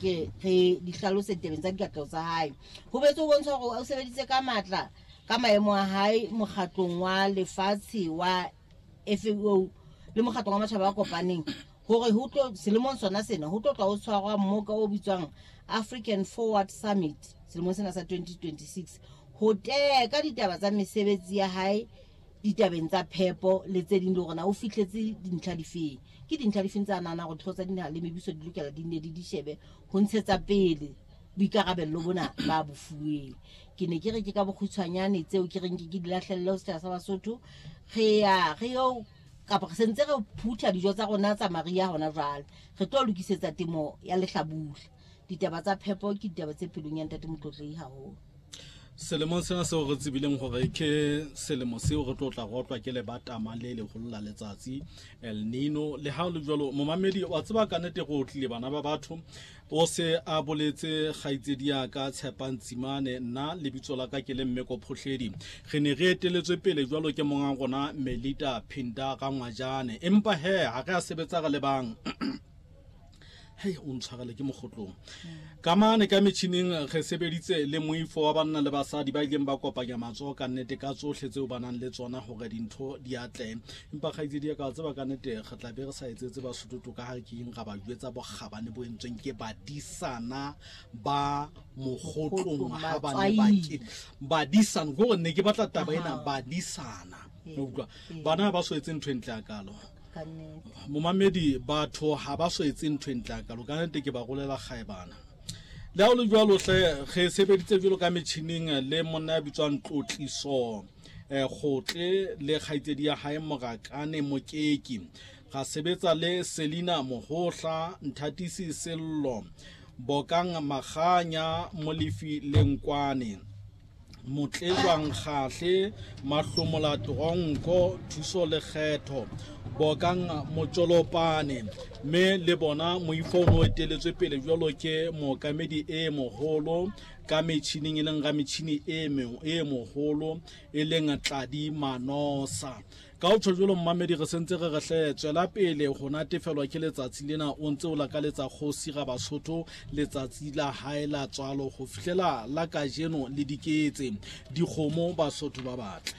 ke re di hlalose ditabeng tsa dikatleho tsa hae. Ho boetse ho bontsha hore o sebeditse ka matla ka maemo a hae mokgatlong wa lefatshe wa FAO le mokgatlong wa matjhaba a kopaneng hore ho tlo selemong sona sena ho tlo tla ho tshwarwa mmoka o bitswang African Forward Summit selemong sena sa 2026 ho teka ditaba tsa mesebetsi ya hae ditabeng tsa phepo le tse ding le hore na o fihletse dintlha difeng. Ke dintlha difeng tsa nahana hore dihlooho tsa dinaha le mebuso di lokela di nne di di shebe ho ntshetsa pele boikarabello bona ba bo fuweng. Ke ne ke re ke ka bokgutshwanyane tseo ke reng ke ke di lahlelle ho setjhaba sa Basotho. Re ya re yo kapa re sentse re phutha dijo tsa rona tsa mariha hona jwale. Re tlo lokisetsa temo ya lehlabula. Ditaba tsa phepo ke ditaba tse pelong ya Ntate Motlotlehi haholo. Selemong sena seo re tsebileng gore ke selemo seo re tlo tla rotlwa ke lebatama le leholo la letsatsi El Nino. Le ha o le jwalo, momamedi wa tseba ka nnete go tlile bana ba batho o se a boletse kgaitsedi ya ka Tshepang Tsimane, nna lebitso la ka ke le Mmeko Phohledi. Re ne re eteletswe pele jwalo ke monga rona Melita Phinda Rangwajane, empa he ha re a sebetsa re le bang. Hei, o ntshwarele ke mogotlong ka mane ka metšhineng. Re sebeditse le moifo wa banna le basadi ba ileng ba kopanya matsoho ka nnete ka tsohle tseo ba nang le tsona gore dintho di atle. Empa kgaitsedi ya ka tseba ka nnete re tla be re sa etsetse Basotho ka ga ke eng ra ba jwetsa bokgabane bo entsweng ke badisana ba mogotlong ha ba ne ba ke badisana gore ne ke batla taba ena badisana. Utlwa, bana ba so etse ntho e ntle ya kalo. Momamedi, batho ha ba so etse ntho e ntle ya kalo ka nnete ke ba rolela kgaebana. Le ha o le jwalo hle, re sebeditse jwalo ka metjhining le monna ya bitswang Tlotliso Kgotle le kgaitsedi ya hae Morakane Mokeki. Ra sebetsa le Selina Mohohla, Nthatisi Sello, Bokang Maganya, Molefi Lenkwane, Motlejwang Kgahle, Mahlomola Tronko, Thuso Lekgetho, Bokang Motjolopane. Mme le bona moifo o ne o eteletswe pele jwalo ke mookamedi e moholo ka metjhining e leng rametjhini e moholo e leng Tladi Manosa. Ka ho tjho jwalo mmamedi, re sentse re re hle tswela pele ho natefelwa ke letsatsi lena o ntse o lakaletsa kgosi ra Basotho letsatsi la hae la tswalo ho fihlela la kajeno le diketse dikgomo Basotho ba batle.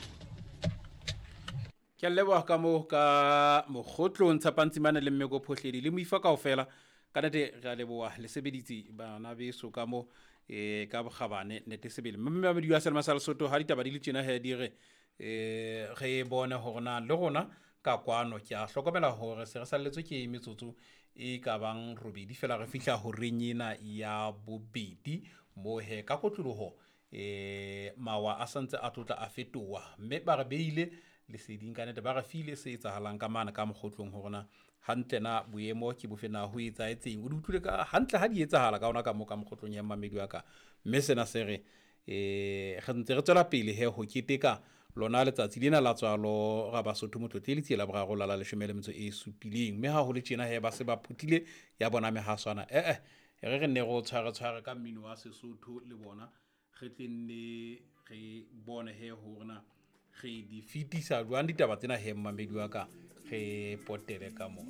Ke a leboha ka moo ka mogotlong Tshepantsimane le Mmeko Phohledi le moifa kaofela. Ka nete re a leboha le sebeditse bana beso ka mo ka bokgabane nete sebele. Mme mamedi wa Selma sa Lesotho ha ditaba di le tjena he di re re bone hore na le rona ka kwano. Ke a hlokomela hore se re salletswe ke metsotso e ka bang robedi fela re fihla horeng ena ya bobedi moo he ka kotloloho mawa a santse a tlotla a fetoha mme ba re beile leseding ka nete, ba re file se etsahalang ka mane ka mogotlong hore na hantle na boemo ke bofe, na ho etsahetseng. O di utlwile ka hantle ha di etsahala ka ona ka mo ka mogotlong ya mmamedi wa ka, mme sena se re re ntse re tswela pele he ho keteka lona letsatsi lena la tswalo ra Basotho Motlotle letsie la boraro la la leshome le metso e supileng. Mme ha ho le tjena he ba se ba phuthile ya bona mehaswana re re nne re o tshware tshware ka mmino wa Sesotho le bona re tle nne re bone he hore na re di fetisa jwang ditaba tsena he mmamedi wa ka re potele ka mona.